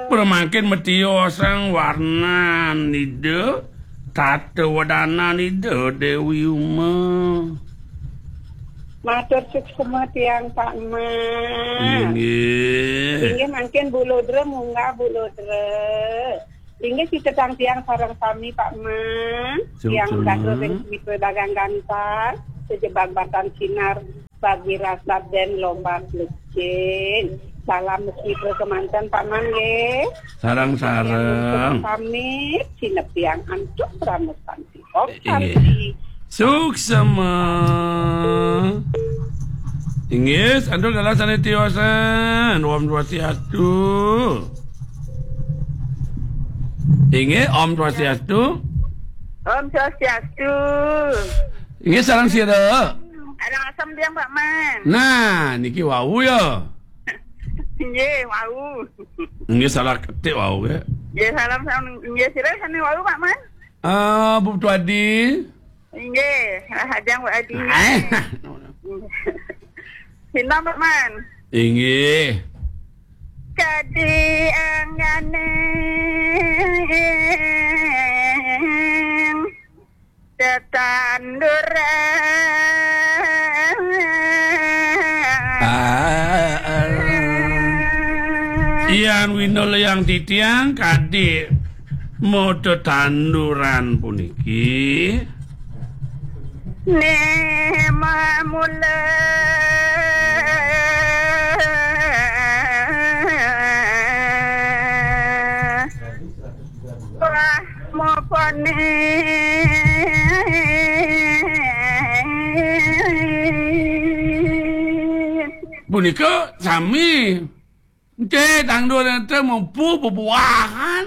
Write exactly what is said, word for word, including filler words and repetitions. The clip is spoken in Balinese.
Pramangkin matiosang warnan Ida, tata wedanan Ida Dewi Uma. Matur suksma tiang Pak Man. Inggih. Inggih mangkin Bu Ludra, munggah Bu Ludra. Inggih, sitetang tiang sareng sami Pak Man. Suksma. Tiang Dago ring Mitra Dagang Gantang, sejebag batan sinar bagi rasa dan lomba lecin. Salam mesra kemanten Pak Man nggih. Sareng-sareng. Tiang pamit, sineb tiang antuk pramestan. Om Santi. Suksma. Inggih, sampun galah sane tiosan. Om Swastiastu. Inggih, Om Swastiastu. Om Swastiastu. Inggih, sareng sira. Sareng asem tiang Pak Man. Nah, niki wau ya. Nggih, wau. Nggih, salah ketik wau ya. Nggih, salam, salam. Nggih, sira sane wau Pak Man. Eh, Bu Tuadi. Inggih, rahajeng Pak Adi. Eh. Sinten, Pak Man? Inggih. Kadi anggane tetanduran. Ah, ah. Yan winul yang titiang kadi modo tanduran puniki. Nema mula. Wah, mopone. Punika sami. Nggih, tandur enten mupu bebuahan.